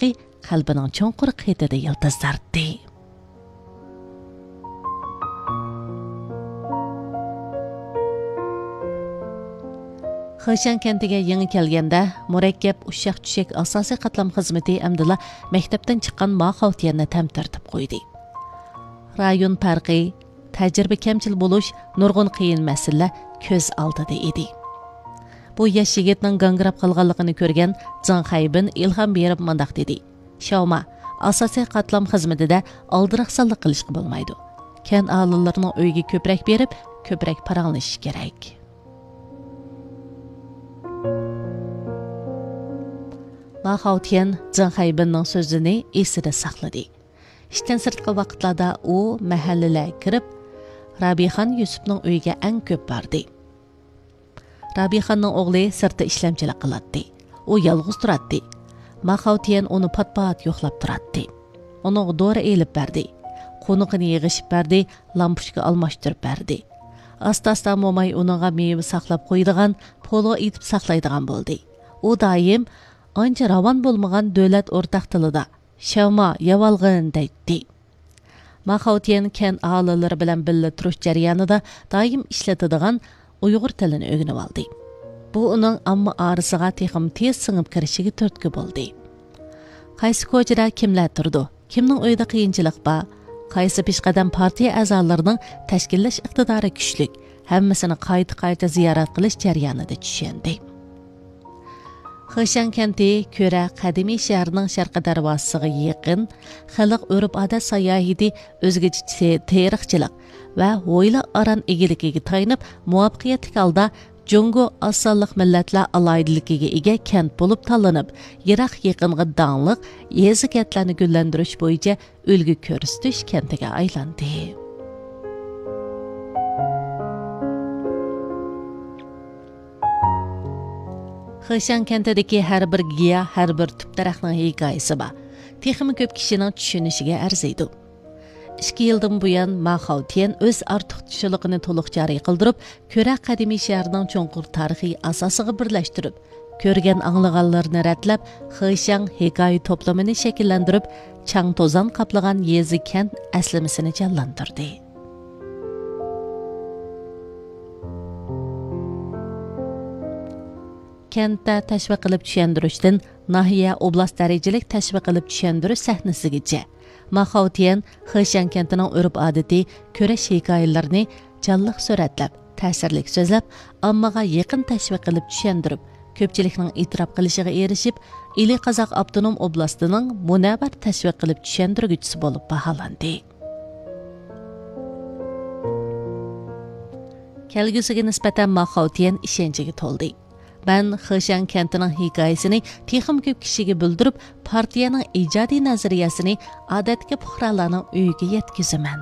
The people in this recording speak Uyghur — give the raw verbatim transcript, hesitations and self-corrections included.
ئىشقى قەلبىنىڭ چوڭقۇر قېتىدا يىلتىزلاردى. خېشياڭ كەنتىگە يېڭى كەلگەندە، مۇرەككەپ ئۇششاق-چۈششەك ئاساسىي قاتلام خىزمىتى ئەمدىلا مەكتەپتىن چىققان ما خاۋتيەننى تەمتىرىتىپ قويدى. رايون پەرقى، تەجرىبە كەمچىل بولۇش، نۇرغۇن قىيىن مەسىلىلەر كۆز ئالدىدا ئىدى. بۇ ياش يىگىتنىڭ گاڭگىراپ قالغانلىقىنى كۆرگەن جېڭ خەيبىن ئىلھام بېرىپ مۇنداق دېدى: «شاۋما، ئاساسىي قاتلام خىزمىتىدە ئالدىراقسانلىق قىلىشقا بولمايدۇ. كەنت ئاھالىلىرىنىڭ ئۆيىگە كۆپرەك بېرىپ، كۆپرەك پاراڭلىشىش كېرەك.» ما خاۋتيەن جېڭ خەيبىننىڭ سۆزىنى ئېسىدە ساقلىدى. ئىشتىن سىرتقى ۋاقىتلاردا ئۇ مەھەللىلەرگە كىرىپ، رابىخان يۈسۈپنىڭ ئۆيىگە ئەڭ كۆپ باردى. رابىخاننىڭ ئوغلى سىرتتا ئىشلەمچىلىك قىلاتتى. ئۇ يالغۇز تۇراتتى. ما خاۋتيەن ئۇنى پات-پات يوقلاپ تۇراتتى. ئۇنىڭغا دورا ئېلىپ بەردى. قونىقىنى يىغىشىپ بەردى، لامپۇچكا ئالماشتۇرۇپ بەردى. ئاستا-ئاستا موماي ئۇنىڭغا مېۋە ساقلاپ قويىدىغان، پولۇ ئېتىپ ساقلايدىغان بولدى. ئۇ دائىم ئانچە راۋان بولمىغان دۆلەت ئورتاق تىلىدا «شاۋما، يەۋالغىن» دەيتتى. ما خاۋتيەن كەنت ئاھالىلىرى بىلەن بىللە تۇرۇش جەريانىدا دائىم ئىشلىتىدىغان ئۇيغۇر تىلىنى ئۆگىنىۋالدى. بۇ ئۇنىڭ ئامما ئارىسىغا تېخىمۇ تېز سىڭىپ كىرىشىگە تۈرتكە بولدى. قايسى كوچىدا كىملەر تۇرىدۇ، كىمنىڭ ئۆيىدە قىيىنچىلىق بار، قايسى پېشقەدەم پارتىيە ئەزالىرىنىڭ تەشكىللەش ئىقتىدارى كۈچلۈك، ھەممىسىنى قايتا-قايتا زىيارەت قىلىش جەريانىدا چۈشەندى. خېشياڭ كەنتى كۆرە قەدىمىي شەھەرنىڭ شەرقىي دەرۋازىسىغا يېقىن، خەلق ئۆرپ-ئادەت ساياھىتى، ئۆزگىچە تې-، تېرىقچىلىق ۋە ھويلا-ئاران ئىگىلىكىگە تايىنىپ، مۇۋەپپەقىيەتلىك ھالدا جۇڭگو ئاز سانلىق مىللەتلەر ئالاھىدىلىكىگە ئىگە كەنت بولۇپ تاللىنىپ، يىراق-يېقىنغا داڭلىق يېزا-كەنتلەرنى گۈللەندۈرۈش بويىچە ئۈلگە كۆرسىتىش كەنتىگە ئايلاندى. خېشياڭ كەنتىدىكى ھەر بىر گىياھ، ھەر بىر تۈپ دەرەخنىڭ ھېكايىسى بار. تېخىمۇ كۆپ كىشىنىڭ چۈشىنىشىگە ئەرزىيدۇ. ئىككى يىلدىن بۇيان، ما خاۋتيەن ئۆز ئارتۇقچىلىقىنى تولۇق جارى قىلدۇرۇپ، كۆرە قەدىمىي شەھىرىنىڭ چوڭقۇر تارىخىي ئاساسىغا بىرلەشتۈرۈپ، كۆرگەن ئاڭلىغانلىرىنى رەتلەپ، خېشياڭ ھېكايە توپلىمىنى شەكىللەندۈرۈپ، چاڭ-توزان قاپلىغان يېزا-كەنت ئەسلىمىسىنى جانلاندۇردى. كەنتتە تەشۋىق قىلىپ چۈشەندۈرۈشتىن ناھىيە، ئوبلاست دەرىجىلىك تەشۋىق قىلىپ چۈشەندۈرۈش سەھنىسىگىچە، ما خاۋتيەن خېشياڭ كەنتىنىڭ ئۆرپ-ئادىتى، كۈرەش ھېكايىلىرىنى جانلىق سۈرەتلەپ، تەسىرلىك سۆزلەپ، ئاممىغا يېقىن تەشۋىق قىلىپ چۈشەندۈرۈپ، كۆپچىلىكنىڭ ئېتىراپ قىلىشىغا ئېرىشىپ، ئىلى قازاق ئاپتونوم ئوبلاستىنىڭ مۇنەۋۋەر تەشۋىق قىلىپ چۈشەندۈرگۈچىسى بولۇپ باھالاندى. كەلگۈسىگە نىسبەتەن ما خاۋتيەن ئىشەنچىگە تولدى. مەن خېشياڭ كەنتىنىڭ ھېكايىسىنى تېخىمۇ كۆپ كىشىگە بىلدۈرۈپ، پارتىيەنىڭ ئىجادىي نەزەرىيەسىنى ئادەتتىكى پۇقرالارنىڭ ئۆيىگە يەتكۈزىمەن.